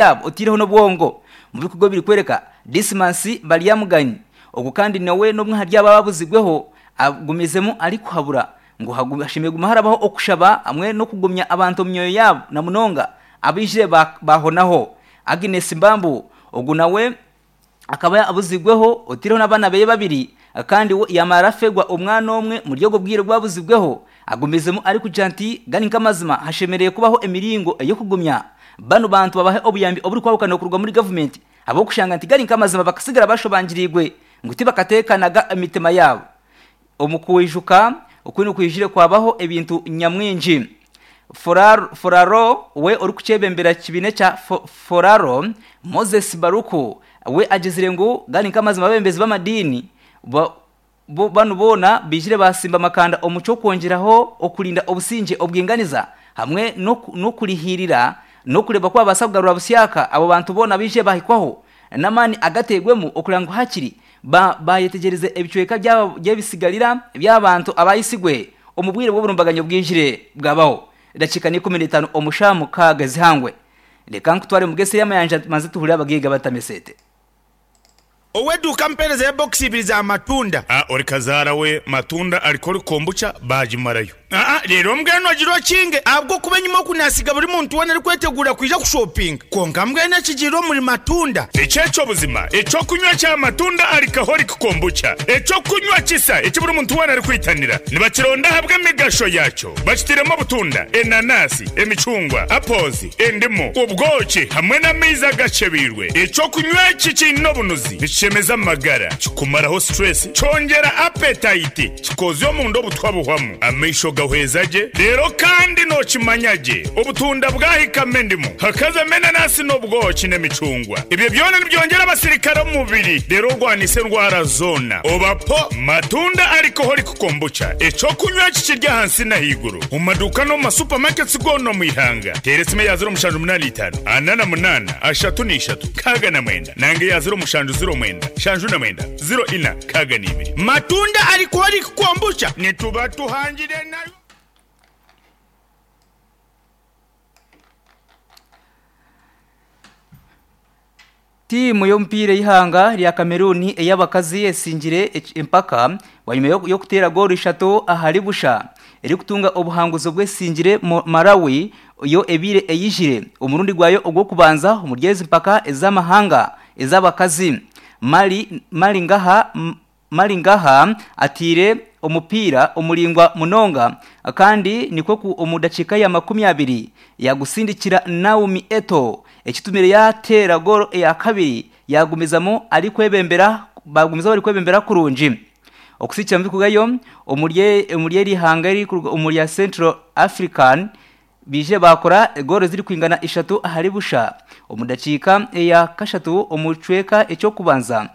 Yaabo otaireho n'obwongo omu bikorwa ebirikworeka Dismas Baryamuganyi ogu kandi nawe n'omwe ahari abo ababuzibweho agumizemu arikuhabura ngu hashemereire kuguma harabaho okushaba hamwe n'okugumya abantu omu myoyo yaabo na munonga abaijire bahonaho. Agnes Mbambu ogu nawe akaba abuzibweho otaireho n'abaana beye babiri kandi we yamara afeerwa omwana omwe omuri obwo bwire obu abuzibweho. Agumizemu arikugira nti gari nk'amazima hashemereire kubaho emiringo ey'okugumya banu bantu babahe obuyambi oburikwahukana okuruga omuri gavumenti ahabw'okushanga nti gari nk'amazima bakasigara bashobangiriirwe ngu tibakateekanaga emitima yaabo Omu kwijuka oku nikwijire kwabaho ebintu nyamwingi. Foraro we orikukyebembera ekibiina ekya Foraro, Moses Baruku we agizire ngu gari nk'amazima abebembezi b'amadiini banu boona baijire basimba amakanda omu ky'okwongyeraho okurinda obusingye, obwinganiza hamwe n'okurihiirira n'okureeba ku babaasa kugarura busyaka abo bantu boona abaijire bahikwaho n'amaani agateirwemu okureba ngu hakiri Baayetegyereza ebicweka by'ebisigarira by'abantu abaayitsigwe omu bwire bw'oburumbaganyo bwijire bwabaho. Edakiika n'ikuminitaano omu shaaha mukaaga ezihangwe. Reka nkutware omu gesi y'amayanja tubanze tuhurire abagaiga batama eseete. Ow'eduuka ampeereza ebokisi ibiri za matunda. A Ori kazaara we matunda ariko ori kombucha baagimarayo. Aa Reero mbwenu ogire okinge, ahabw'okuba enyima oku naasiga buri muntu weena arikweteguura kwija kushopinga. Kwonka mbwenu ekigiire omuri matunda. Eki eky'obuzima, eky'okunywa kya matunda alcoholic kombucha, eky'okunywa kisa eki buri muntu weena arikwitanira. Nibakironda ahabw'emigasho yaakyo. Bakitairemu obutunda, enanasi, emicungwa, apples, endimu, obwoki hamwe n'amaizi agakyebeirwe. Eky'okunywa eki kiine obunuzi, nikishemeza amagara, kikumaraho stress, kyongyera appetite. Kikoozya omunda obutwa buhwamu, amaisho gahweza gye, reero kandi nookimanya gye obutunda bwahikamu endimu, hakazamu enanasi n'obwoki n'emicungwa. Ebyo byona nibyongyera abasirikare omu mubiri reero orwanise endwara zoona. Oba po matunda alcoholic kombucha, eky'okunywa eki kiri ahansi n'ahaiguru omu maduuka n'omu ma supermarkets goona omu ihanga. Teera esimu eya 0785 48 33 69 nanga eya 0709 79 04. 62. Matunda alcoholic kombucha. Nituba tuhangire nayo. Tiimu y'omupiira ey'eihanga rya Cameroon ey'abakazi esingire empaka bwanyima y'okuteera goolo ishatu ahari busha erikutunga obuhanguzi obu esingire Malawi yo ebaire eyijire omurundi gwayo ogw'okubanza omuri ezi mpaka ez'amahanga ez'abakazi. Mali Malingaha Malingaha ataire omupiira omuraingwa munonga kandi nikwo ku omu dakiika ya 20 yagusindikira Naomi Eto ekitumire yateera goolo eya kabiri yagumizamu arikwebembera bagumizamu barikwebembera kurungi. Okusikira omu birikurugayo omuri omuri eri ihanga eririkuruga omuri rya Central African Baije baakora egoolo ezirikwingana ishatu ahari busha omu dakiika eya kashatu omu kicweka eky'okubanza.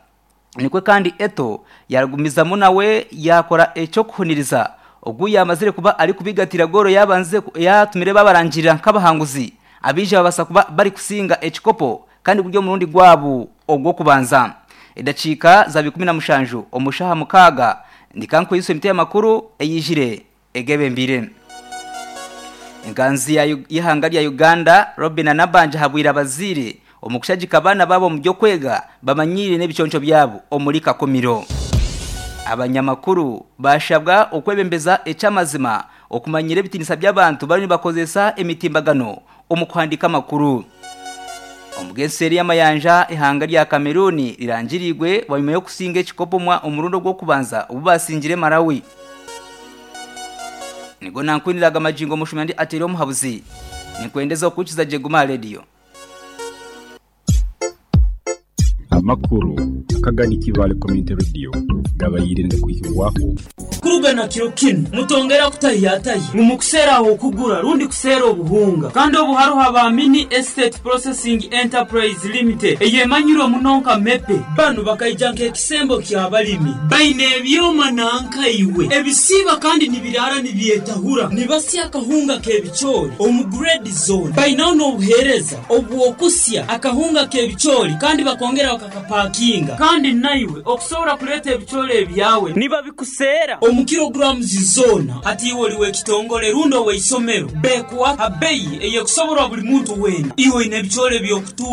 Nikwo kandi Eto'o yaagumizamu nawe yaakora eky'okuhuniriza ogu yaamazire kuba arikubigatira goolo yaabanze yaatumire baabarangirira nk'abahanguzi abaija babaasa kuba barikusinga ekikopo kandi guri omurundi gwabo ogw'okubanza. Edakiika zaaba 17 omu shaaha mukaaga ndikankweyusya emitwe y'amakuru eyaijire egebembeire. Enganzi y'eihanga rya Uganda, Robinah Nabbanja ahabwire abazaire omu kushagika abaana baabo omu by'okwega bamanyiire n'ebiconco byabo omuri Kakumiro. Abanyamakuru baashabwa okwebembeza eky'amazima okumanyira ebitiinisa by'abantu bariyo nibakozesa emitimbagano omu kuhandiika amakuru. Omugenseeri y'amayanja eihanga rya Cameroon rirangiriirwe bwanyima y'okusinga ekikopo omurundi ogw'okubanza obu baasingire Malawi. Nigo nankwiniraga magingo omushumya ndi ateire omuhabuzi. Ninkwendeza okukiza gye guma aha rediyo. Amakuru akagani Kibaale Community Radio gabaire nigakwihibwaho. Kuruga na kiro kinu, mutongera kutahiyatahya ngu mukuseera ah'okugura rundi kuseera obuhunga. Kandi obu haroho aba Mini Estate Processing Enterprise Limited eyemanyirwe muno nka MEPE. Banu bakaija nk'ekisembo ky'abalimi. Baine ebyoma nanka iwe ebisiiba kandi nibiraara nibyetahura. Nibasya akahunga k'ebicoori omu grade zoona. Bainaho n'obuheereza obw'okusya akahunga k'ebicoori kandi bakongera bakakapakinga. Kandi naiwe okusobora kuleeta ebicoori ebyawe nibabikuseera omu. kilograms zoona. Hati iwe oli w'ekitongole rundi ow'eisomero, beekuwa ha beeyi ey'ekusoborwa buli muntu weena. Iwe oine ebicoori eby'okutunda?